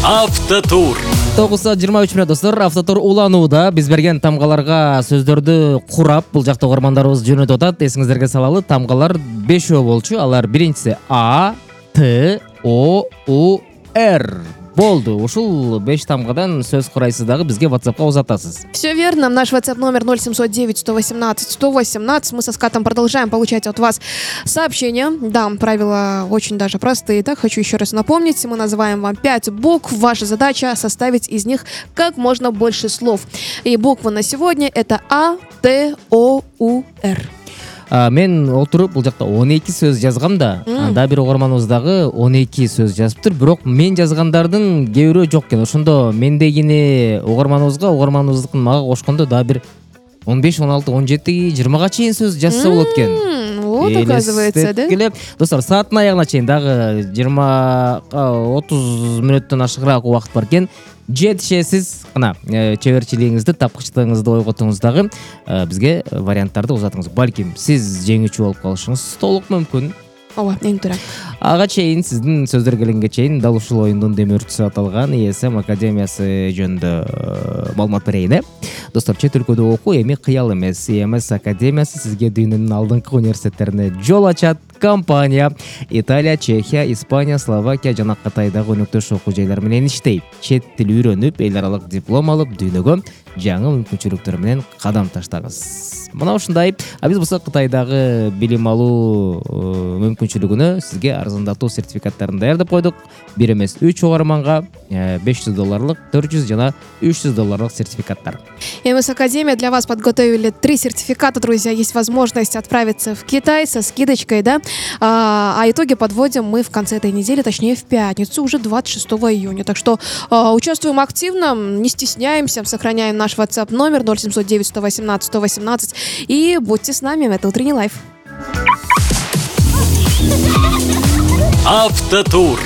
Автотур. 9:23 достор, автотур уланууда. Биз берген тамгаларга сөздөрдү курап, бул жакта угармандарыбыз жөнөтүп атат. Эсиңиздерге салалы, тамгалар 5 болчу. Алар биринчиси А, Т, О, У, Р. Болду. Ушул 5 тамгадан сөз курайсыз дагы бизге WhatsApp'ка узатасыз. Все верно. Наш WhatsApp номер 0709-118-118. Мы со Скатом продолжаем получать от вас сообщения. Да, правила очень даже простые. Так, хочу еще раз напомнить. Мы называем вам 5 букв. Ваша задача составить из них как можно больше слов. И буквы на сегодня это А, Т, О, У, Р. Мен отуруп бул жакта 12 сөз жазгам да. Анда бир угарманыбыз дагы 12 сөз жазыптыр. Бирок мен жазгандардын кээ бирөө жок экен. Ошондо мендегини угарманыбыздыкын мага кошкондо дагы бир 15, 16, 17, 20га чейин сөз жазса болот экен. Вот, оказывается, да? Достор, сааттын аягына чейин дагы 20-30 мүнөттөн ашыгыраак убакыт бар экен. Жетишесиз, кана чеберчилигиңизди, тапкычтыгыңызды ойготуңуз дагы бизге варианттарды узатыңыз. Балким сиз жеңүүчү болуп калышыңыз толук мүмкүн. Ооба, эң туура. Ага чейин сиздин сөздөр келгенге чейин дал ушул оюндун демөөрчүсү аталган ESM Академиясы жөнүндө маалымат берейин. Достор, чет өлкөдө окуу эми кыял эмес. EMS Академиясы сизге дүйнөнүн алдыңкы университеттерине жол ачат. Компания Италия, Чехия, Испания, Словакия жана Кытайдагы өнөктөш окуу жайлар менен иштейт. Чет тил үйрөнүп, эл аралык диплом алып, дүйнөгө жаңы мүмкүнчүлүктөр менен кадам таштаңыз. Мына ушундай. Биз болсо Кытайдагы билим алуу мүмкүнчүлүгүнө сизге арзандатуу сертификаттарын даярдап койдук. Бир эмес 3 угарманга $500, 400 жана $300 сертификаттар. EMS Академия для вас подготовили 3 сертификата, друзья. Есть возможность отправиться в Китай со скидочкой, да? А итоги подводим мы в конце этой недели, точнее в пятницу, уже 26 июня. Так что участвуем активно, не стесняемся, сохраняем наш WhatsApp номер 0709-118-118 и будьте с нами, это утренний лайф. Автотур.